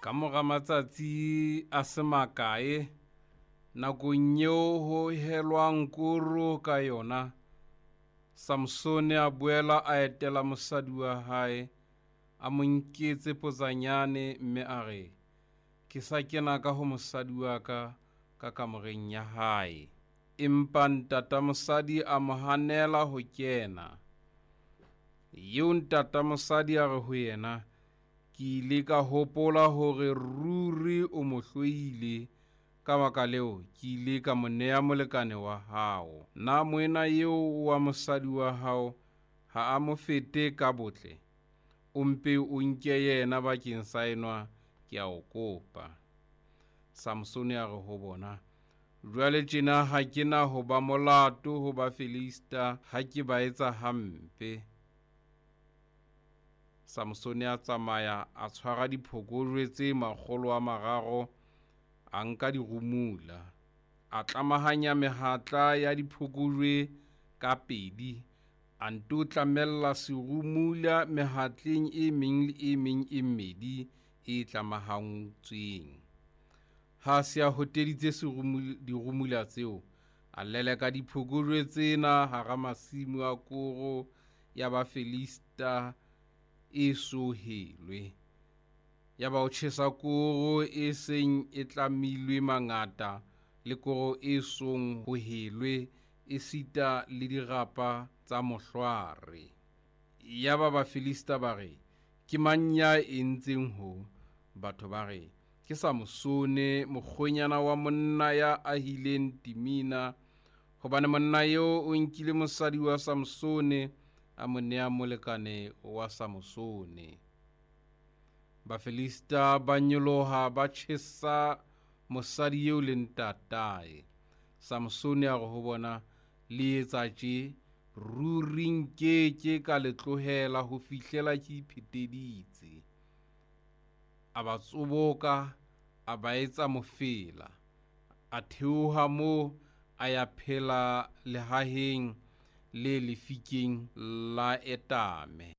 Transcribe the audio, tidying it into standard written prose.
Ka mora matsatsi a se makae, nakong eo ho helwang koro ka yona, Samsone a boela a etela mosadi wa hae, a mo nketse potsanyane mme a re, Ke sa kena ka ho mosadi wa ka ka kamoreng ya hae. Empa ntata mosadi a mo hanela ho kena. Eo ntata mosadi a re ho yena, Ke ile ka hopola hore ruri o mo hloile, ka baka leo ke ile ka mo nea molekane wa hao. Na moena eo wa mosadi wa hao ha a mo fete ka botle? O mpe o nke yena bakeng sa enwa, ke a o kopa. Samsone a re ho bona, Jwale tjena ha ke na ho ba molato ho Bafilista ha ke ba etsa hampe. Samsone a tsamaya a tshwara diphokojwe tse 300, a nka dirumula, a tlamahanya mehatla ya diphokojwe ka pedi, a nto tlamella serumula mehatleng e meng le e meng e mmedi e tlamahantsweng. Ha a se a hoteditse dirumula tseo, a leleka diphokojwe tsena hara masimo a koro ya Bafilista e so helwe. Yaba o tjhesa koro e seng e tlamilwe mangata le koro e song ho helwe, esita le dirapa tsa mohlwaare. Yaba Bafilista ba re, Ke mang ya entseng ho? Batho ba re, Ke Samosone, mokgwenyana wa monna ya ahileng Timina, hobane monna eo o nkile mosadi wa Samsone, a mo nea molekane wa Samosone. Bafilista ba nyoloha, ba tjhesa mosadi eo le ntatae. Samsone a re ho bona, Le etsa tje, ruri nke ke ka le tlohela ho fihlela ke ipheteditse. A ba tsoboka, a ba etsa mofela. A theoha moo, a ya phela lehaheng le lefikeng la Etame.